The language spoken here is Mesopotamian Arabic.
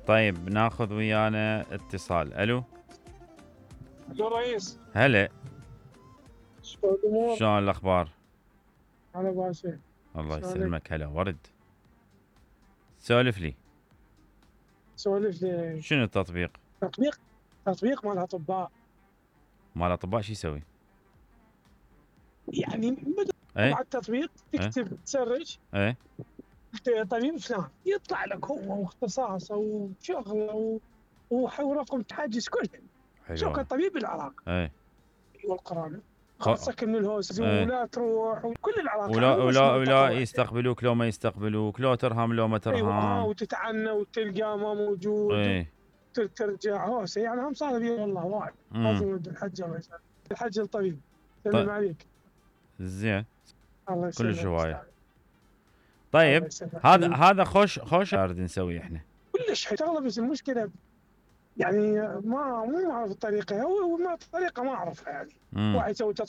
طيب ناخذ ويانا اتصال. الو يا رئيس، هلا، شلون الامور؟ شلون الاخبار؟ انا باشا. الله شلونك؟ يسلمك. هلا ورد، سولف لي. سولف لي. شنو التطبيق؟ تطبيق مال اطباء. مال اطباء شو يسوي؟ يعني بدل ايه على التطبيق تكتب تسرج ايه طبيب فلان، يطلع لك هو واختصاصه وشغله ورقم تحجز كله. شو حلوة. كطبيب العراق ايه والقرآن، خ... خلصك من الهوس ايه ولا تروح وكل العراق ولا يستقبلوك لو ما يستقبلوك، لو ترهم لو ما ايوه، ترهم. وتتعنى وتلقى ما موجود ايه ترجع هوسه. يعني هم صار بي والله وايد. امم لازم ود الحج الله يسلمك. الحج الطبيب. سلم طيب عليك. زين، الله كلش يسلمك. هواية. الله طيب يسلمك. هذا خوش نريد نسوي احنا. كلش حلو، بس المشكله يعني مو اعرف الطريقه، هو ما الطريقه ما اعرفها يعني. امم واحد يسوي تطبيق